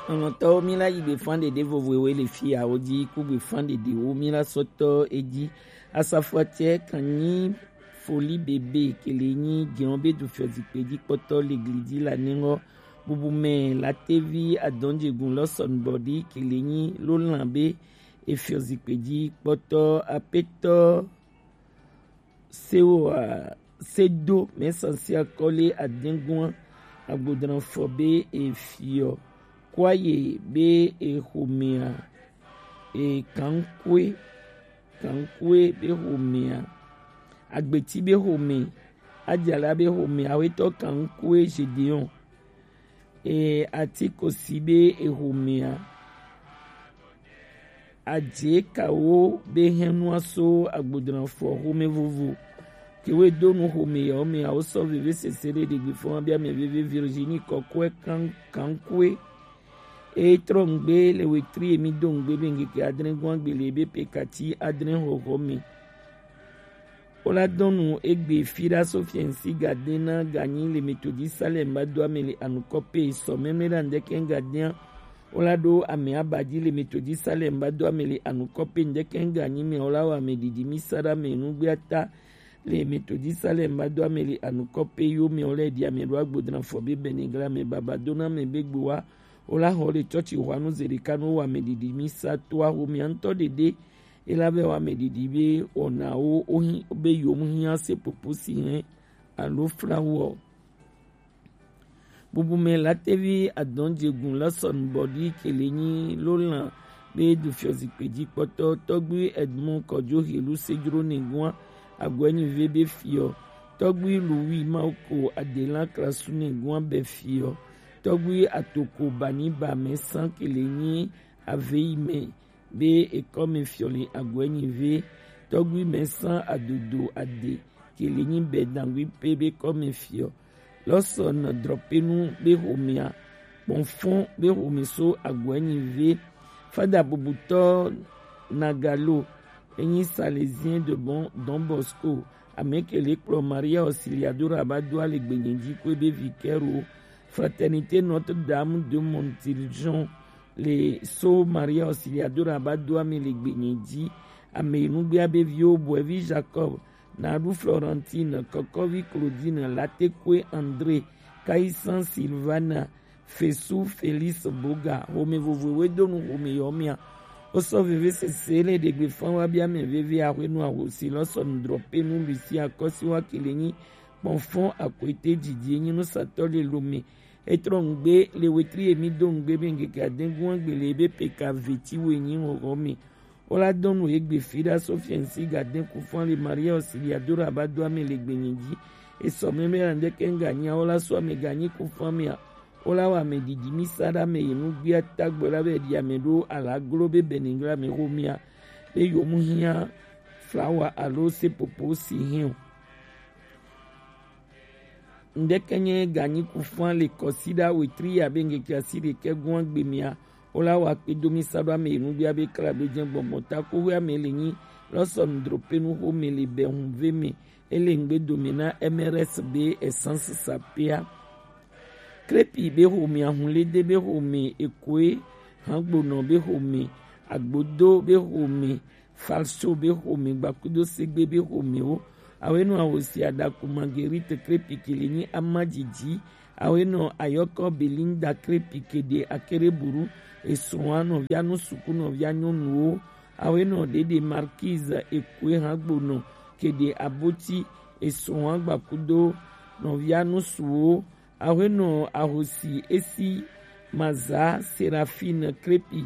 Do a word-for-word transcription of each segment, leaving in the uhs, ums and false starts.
Lɔlɔ̃tɔwo, mi la yi gbefan ɖeɖe vovovowo le fia wo ji, ku gbefan ɖeɖewo mi la sɔtɔ eji. Asafoatiɛ kan nyi foli bebe kele nyi jɛn be du fiɔ zikpe ji kpɔtɔ le gli ji la nɛngɔ. Bubu mɛ latevi adɔnjegun lɔsɔn bɔdi kele nyi lo lan be e fiɔ zikpe ji kpɔtɔ apetɔ Sewa Sedo mɛ sansi akɔle adɛngun agbodran fɔ be e fiɔ kwaye be e xomea e kankue kankue be xomea agbeti be xome ajala be xome awetɔ kankue Gedeon e atikosi be e xomea Ajekawo be hɛnua so agbodran fɔ xome vovo. Kewe donu xome yawo me awo sɔ veve sese ɖe ɖegbe fɔ bi ame veve Virginie kɔkɔe kan kankue. E trɔ ngbe le wetri emi do ngbe be ngeke adre gwan gbele be pekati adre xɔxɔ me. Wo la dɔnu egbe fi ɖa so fiɛnsi gaden na ganyi le Methodist Salem ba do ame le anukɔ pe sɔ mɛmɛ ɖa ndɛkɛ gaden. Wo la ɖo ame aba ji le Methodist Salem ba do ame le anukɔ pe ndɛkɛ ganyi mɛ wo la wa ame didi mi sa ɖa ame nugbe ata le Methodist Salem ba do ame le anukɔ pe yo mɛ wo lɛ di ame ɖo agbodran fɔ be bɛnɛ gla ame baba do na ame be gbo wa. Wo la xɔ le tsɔtsi xɔanu ze ɖeka no wa ame didi mi sa to axo mɛ ŋutɔ ɖeɖe. Ela vɛ wa ame didi be wɔnawo wo hi be yom hia se popo si hɛn alo flawo. Bubu mɛ latevi adɔnjegun lɔsɔn bɔdi kele nyi lo lan be du fiɔ zikpe ji kpɔtɔ tɔgbi Edmond Kɔjo helu sejro ne gua agwɛnyi ve be fiɔ tɔgbi Louis Mauko adela klasu ne gua bɛ fiɔ tɔgbi atoko bani ba mɛ san kele nyi ave yi mɛ be ekɔme fiɔ le aguɛ nyi ve tɔgbi mɛ san adodo ade kele nyi bɛ dangui pe be kɔme fiɔ lɔsɔ nɔ drɔpenu be homea kpɔnfɔn be home so aguɛ nyi ve fada bubutɔ nagalo enyi Salésien de bon Don Bosco amekele kplɔ Maria Auxiliadora ba do ale gbenyi ji kue be vikɛro Fraternité Notre Dame de Montiljon le so Maria Auxiliadora ba do ame le gbenyi ji ame nugbea be viwo bɔɛvi Jacob Nadu Florentine Kɔkɔvi Claudine Latekwe André Kaisan Silvana Fesu Félix Boga home vovoe donu home yɔ mia. Wosɔ veve sese le ɖegbe fan wa bia mɛ veve ahwenu ahosi lɔ sɔ nudrɔ pe nu Lucia kɔsi wa kele nyi kpɔnfɔn akwete didi enyi nusatɔ le lome. Etrɔ ngbe le wetri emi do ngbe be ngeke adengun agbe le ebe peka veti wo enyi hɔhɔ me. Wo la dɔn nu egbe fi ɖa so fiɛnsi gaden kufan le Maria Auxiliadora ba do ame le gbenyi ji. Esɔ mɛmɛ la ndeke nga nya wo la so ame ganyi kufan mea. Wo la wa ame didi mi sa ɖa ame yi nu gbia tagbɔ la be ɖi ame ɖo ala glo be bɛningla me ho mia. Be yo mu hia flawa alo sepopo si hɛn o. Ndeke nye ganyi kufan le kɔsiɖa wetri ya be ngeke asi ɖekɛ gua gbe mia. Wo la wa kpe do mi sa ɖo ame yi nu gbia be kla be jɛ gbɔgbɔ ta ko we ame le nyi lɔ sɔ nudro pe nu ho me le bɛ hun ve me. Ele ngbe do me na M R S be essence sapea. Krepi be ho me ahun le de be ho me ekoe hangbonɔ be ho me agbodo be ho me Falso be xome gbakudo segbe be xomewo. Awenɔ ahosi adaku Marguerite Krepi ke le nyi ama dzidzi. Awenɔ ayɔkɔ Belinda Krepi ke ɖe akere buru. Esrɔ̃a nɔvia nu suku nɔvia nyɔnuwo. Awenɔ ɖeɖe Marquise Ekue hã gbonɔ ke ɖe aboti. Esrɔ̃a gbakudo nɔvia nusuwo. Awenɔ ahosi esi maza Serafine Krepi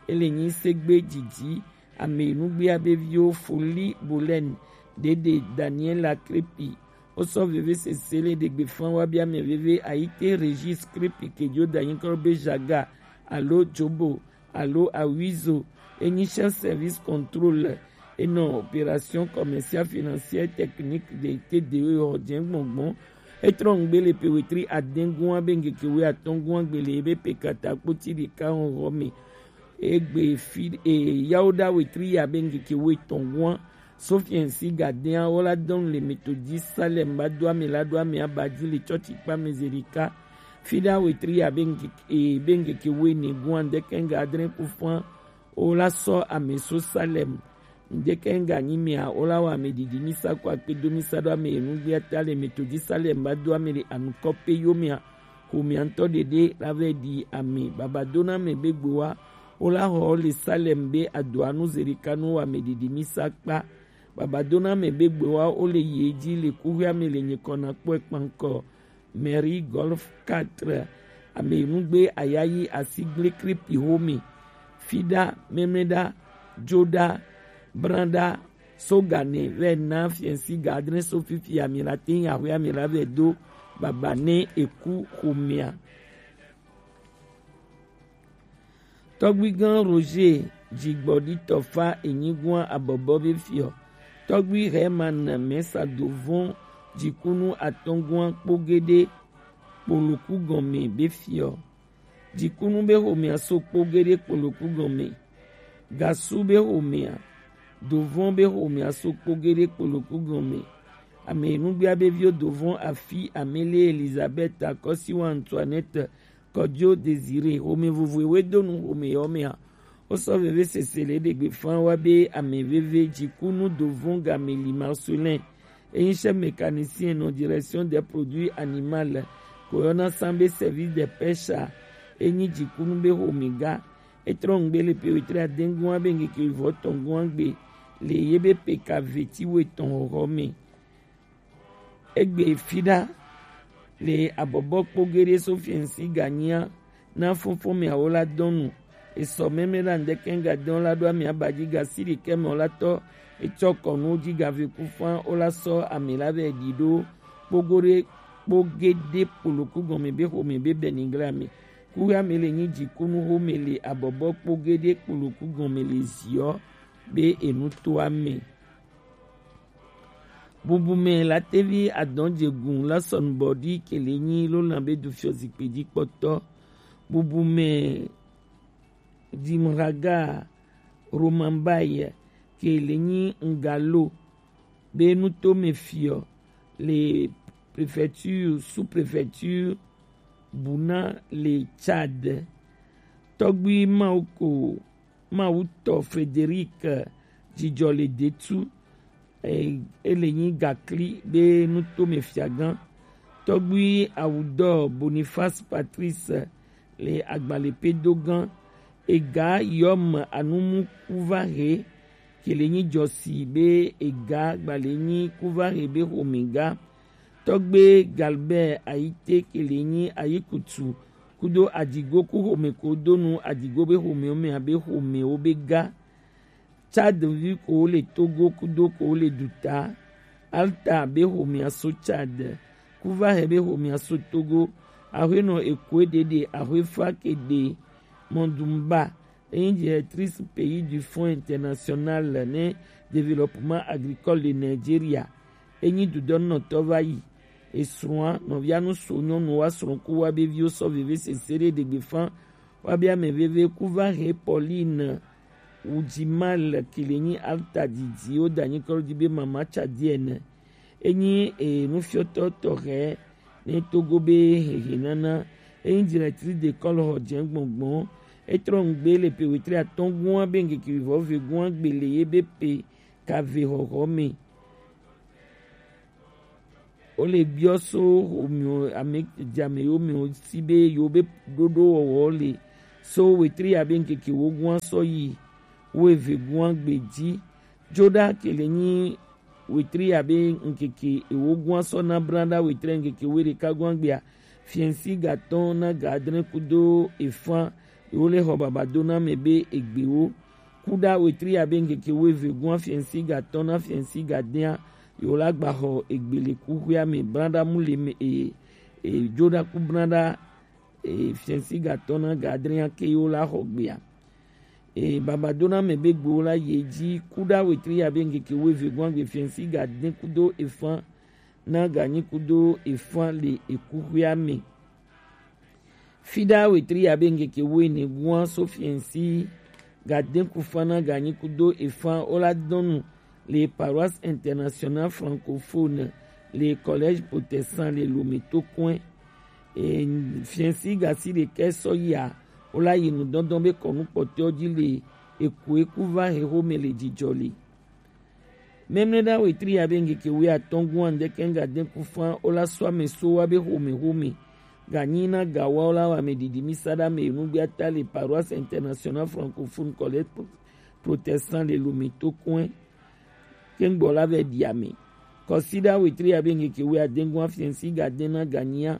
ele nyi segbe dzidzi. Ame nugbea be viwo Foli Bolen, Dede Daniela Krepi. Wosɔ veve sese le ɖegbe fan wa bia ame veve Ayite Regis Krepi ke dzo da nyi kɔ be Jaga alo Jobo alo Awizo. Enyi chef service contrôle enɔ opération commerciale financière technique de T D E xɔ jɛ gbɔngbɔn. Etrɔ ngbe le pe wetri adɛngua be ngeke we atɔngua gbe le ebe pe kata kpoti ɖeka xɔxɔ me. Egbe fi e yawo ɖa wetri ya be ngeke we tɔngua. Sofiɛnsi gadɛa wo la dɔn le Methodist Salem ba do ame la do ame aba dzi le tsɔtsi kpa me zerika. Fida wetri ya be ŋkeke, e, be ŋkeke wene gua ŋdekɛŋga adre ku fã wo la sɔ ame so Salem. Ŋdekɛŋga nyi mea wo la wɔ ame didi mi sa ko akpe do mi sa ɖo ame enugbea ta le me to ji Salem ba do ame le anukɔ pe yo mea. Xomea ŋtɔ ɖeɖe la vɛ ɖi ame. Baba do na ame be gbe wa wo la xɔ le Salem be adoa nu zerika nu wɔ ame didi mi sa kpa. Baba do na ame be gbe wa wo le yi edzi le kuxia me le nyikɔ na kpɔe kpankɔ. Mairie Golf quatre, ame nugbe ayayi asigble kripi home, fiɖa, memleɖa, joɖa, braɖa, sogane vɛ na fiɛnsi ga adre so fifi amila te ŋu axwe amila vɛ do baba ne eku xomea. Tɔgbuigã Roger Jigbɔɖitɔ fa enyigua abɔbɔ be fiɔ. Tɔgbui Herman Mɛsa dovɔn jikunu atɔngua kpogede kpoloku gɔme be fiɔ. Jikunu be xomea so kpogede kpoloku gɔme. Gasu be xomea, dovɔn be xomea so kpogede kpoloku gɔme. Ame nugbea be viwo dovɔn afi amele Elizabeth akɔsiwa Antoinette Kɔjo Désiré, xome vovoe we do nu xome yɔ mea. Wo sɔ veve sese le ɖegbe fan wa be ame veve jikunu dovɔn game li Marcelin. Enyi chef mécanicien nɔ direction des produits animal ko yɔna san be service de pêche a. Enyi jikunu be xome ga. Etrɔ ŋgbe le pe wetre adengua be ŋkeke vɔ tɔngua gbe le ye be pe ka veti we tɔn xɔxɔ me. Egbe fiɖa le abɔbɔ kpogede so fiɛnsi ganyia na fɔnfɔn miawo la dɔnu. Esɔ mɛmɛ la ŋdɛkɛ ŋgadɛn la ɖo ami abaji gasi ɖekɛ mɛ la tɔ etsɔ kɔnu ji gave kufan wo la sɔ ami la vɛ ɖi ɖo kpogode kpogede kpoloku gɔme be xome be bɛnigla me. Kuya me le nyi jikunu xome le abɔbɔ kpogede kpoloku gɔme le ziɔ be enu to ame. Bubumɛ la tevi adɔn jegun la sɔnubɔ ɖi kele nyi lo lan be du fiɔ zikpe ji kpɔtɔ. Bubumɛ Dimraga Romambai kele nyi ŋgalo be nutome fiɔ le préfecture, sous-préfecture Buna le Tchad. Tɔgbui Mawuko Mawutɔ Frédéric Jijɔ le detu, e, ele nyi gakli be nutome fiagã. Tɔgbui Awudɔ Boniface Patrice le agbalẽ pe do gã. Ega yɔm anumu kuva he kele nyi jɔsi be ega gbalẽ nyi kuva he be xome ga. Tɔgbe Galbert Ayite kele nyi ayikutu kudo adigo ku xome ko donu adigo be xomewo mɛ abe xomewo be ga. Tchad vi ko le Togo kudo ko le duta. Alta be xomea so Tchad. Kuva he be xomea so Togo. Axwenɔ ekoe ɖeɖe axwefa ke ɖe mɔdumba. Enyi directrice pays du Fonds international ne développement agricole de Nigeria. Enyi dudɔnɔtɔ va yi. Esrɔ̃a nɔvia nu so nyɔnu wa srɔ̃ ku wa be viwo sɔ veve sese ɖe ɖegbe fan wa be ame veve ku va he Pauline Wujimal kele nyi alta didi wo da nyi kɔlɔ di be mama Tchadienne. Enyi e nufiɔtɔ tɔxɛ ne Togo be hehe nana. Enyi directrice d'école xɔ dze gbɔngbɔn. Etrɔ ŋgbe le pe wetri atɔn gua be ŋkeke vɔ ve gua gbe le ye be pe ka ve xɔxɔ me. Wo le biɔ so xomio ame jame yo me si be yo be ɖoɖo wɔwɔ le so wetri ya be ŋkeke wo gua sɔ yi wo eve gua gbe ji. Joɖa kele nyi wetri abe ŋkeke ewo gua sɔ na bla ɖa wetri ŋkeke wo ɖeka gua gbea. Fiɛnsi gatɔn na ga adre kudo efan ewo le xɔ baba do na mɛ be egbewo. Kuɖa wetri abe ŋkeke wo eve gua fiɛnsi gatɔn na fiɛnsi gadea yewo la gba xɔ egbele kuxuia me bla ɖa mu le me e e joɖa ku bla ɖa. E fiɛnsi gatɔn na ga adre ake yewo la xɔ gbea. E baba do na mɛ be gbewo la ye ji kuɖa wetri abe ŋkeke wo eve gua gbe fiɛnsi ga de kudo efan na ga nyi kudo efan le ekuxuia me. Fiɖa wetri abe ŋkeke wo ene gua so fiɛnsi ga de kufan na ga nyi kudo efan wo la dɔnu le paroisse internationale francophone le collège protestant le Lomé to kɔe. E, fiɛnsi gasi ɖekɛ sɔ yia, wo la yi nu dɔndɔn be kɔnu kpɔtɔ ji le, eku eku va he xome le jijɔ le. Mɛmlɛ da wetri ya be ŋkeke wi atɔn gun andɛ kɛnga den ku fan wo la sɔ ame so wa be xome xome. Ganyi na ga wa wo la wa ame didi mi sa da me nu gbe ata le Paroisse Internationale Francophone Collège Pro-, Protestant le Lomé to kɔn. Kɛngbɔ la vɛ ɖi ame. Kɔsiɖa wetri abe ŋkeke wi adengun afiɛnsi ga den na ganyia.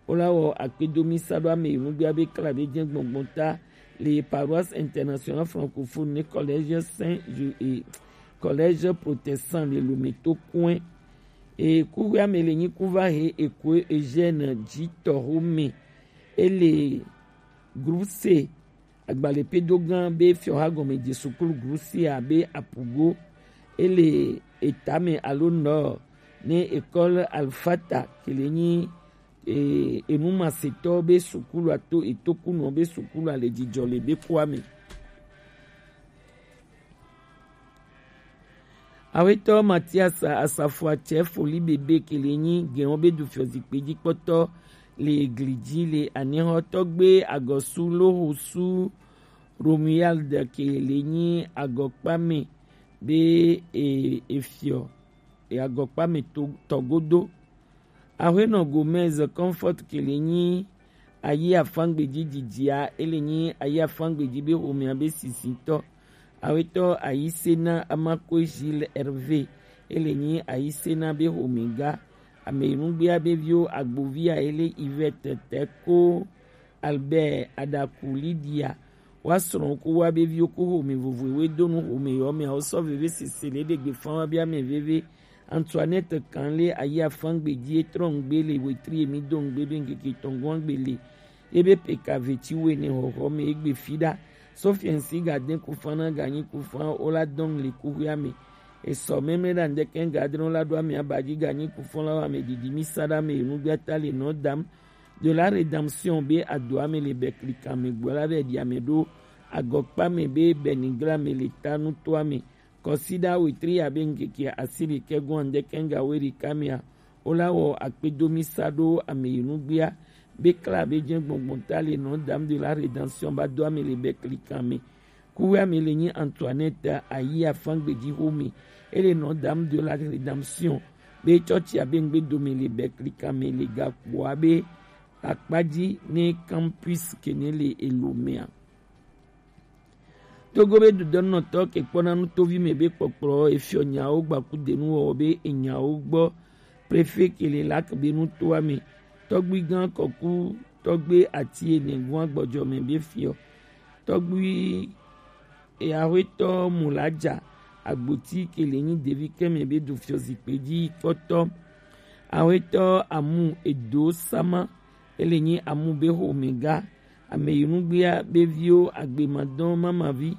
Wo la wɔ akpedomi sa ɖo ame yi nugbe abe kla be jɛn gbɔngbɔn ta le Paroisse Internationale Francophone ne Collège Saint Ju-, eh, Collège Protestant le Lomé to kɔn. E kuxi ame le nyi kuva he ekue Eugène Jitɔ Home. Ele groupe C. Agbalẽ pedo gã be fiɔha gɔme je sukulu groupe C abe Apugo, ele etame alo Nord, ne école Alfata, ke le nyi, e, enumasetɔ be sukulu ato etokunɔ be sukulu ale jijɔ le be kua me. Awetɔ Matias Asafoatsɛ Foli Bebe ke le nyi gɛn wo be du fiɔ zikpe ji kpɔtɔ le egli ji le anihɔ tɔgbe agɔsu loho su Romuald ke le nyi agɔkpa me be e, efiɔ e agɔkpa me to, tɔgodo. Ahuenɔ Gomez Comfort ke le nyi ayi afangbeji jijia, ele nyi ayi afangbeji be homea be sisitɔ. Awetɔ Ayisena Amakwe Gilles Hervé, ele nyi Ayisena be homega. Ame nugbea be viwo agbovia ele Yvette Teko Albert Adaku Lydia. Wa srɔ̃ ku wa be viwo ku home vovoe we do nu home yɔ me awo sɔ veve sese le ɖe gbe fan wa be ame veve. Antoinette kan le ayi afangbeji etrɔ ŋgbe le wetri emi do ŋgbe be ŋkeke tɔngɔn gbe le. Ebe peka veti wene hɔhɔ me egbe fi ɖa. Sofiɛnsi ga den kufan na ganyi kufan o la dɔn le kuhia me. Esɔ mɛmlɛ ɖa ŋdɛkɛ ŋga adrɔn la ɖo ame abaji ganyi kufan la wa me didi mi sa ɖa me enugbata le nɔ dam. De la rédemption be adoa me le bɛklikan me gbɔ la vɛ ɖi ame ɖo agɔkpa me be bɛnigla me le ta nutoa me. Kɔsiɖa wetri abe ŋkeke asi ɖekɛ gɔn ŋdɛkɛ ŋga we ɖeka mea. Wo la wɔ akpedomi sa ɖo ame yi nugbea be kla be jɛn gbɔngbɔn ta le nɔ dam de la rédemption ba do ame le bɛklikan me. Kuwe ame le nyi Antoinette ayi afangbeji home. Ele nɔ dam de la rédemption be tsɔtsi abe ŋgbe dome le bɛklikan me le gakpoa be akpaji ne campus kene le elomea. Togo be dudɔnɔtɔ ke kpɔna nu tovi me be kpɔkplɔ efiɔ nyawo gbaku denu wɔ be enyawo gbɔ. Préfet ke le lak be nu toa me. Tɔgbui gã kɔku tɔgbe ati ene gua gbɔdzɔ me be fiɔ. Tɔgbui eahuetɔ Mulaja Agboti ke le nyi devi kɛmɛ be du fiɔ zikpe ji kpɔtɔ. Ahuetɔ Amu Edo Sama, ele nyi Amu be homega. Ame yi nugbea be viwo agbemadɔn mamavi,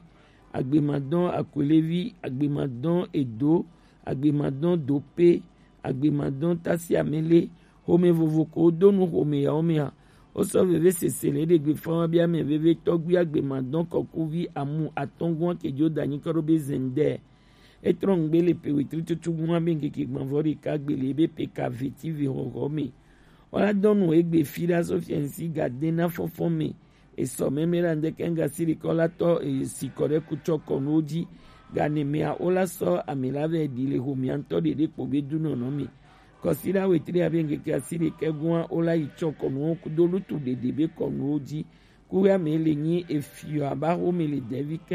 agbemadɔn akwelevi, agbemadɔn edo, agbemadɔn dope, agbemadɔn tasiamele, home vovo ko do nu home yawo mea. Wo sɔ veve sese le ɖe gbe fan wa be ame veve tɔgbi agbemadɔn kɔkuvi Amu atɔngua ke jo danyi kɔ ɖo be zɛndɛ. Etrɔ ŋgbe le pe wetri tutu gua be ŋkeke gbɔnvɔ ɖeka gbe le be pe ka veti ve hɔhɔ me. Wala dɔnu egbe fi ɖa sɔ fiɛnsi ga de na fɔfɔ me. Esɔ mɛmɛ la ŋdɛkɛ ŋga si ɖekɔ la tɔ esi kɔ ɖe kutsɔ kɔnuwo ji. Gane mea wo la sɔ ame la vɛ ɖi le homea ŋtɔ ɖeɖe kpo be du nɔnɔ me. Kɔsi la wetri abe ŋkeke asi ɖekɛ gua wo la yi tsɔ kɔnuwo kudo lutu ɖeɖe be kɔnuwo ji. Kuwɛ ame le nyi efiɔ aba home le dɛvi kɛ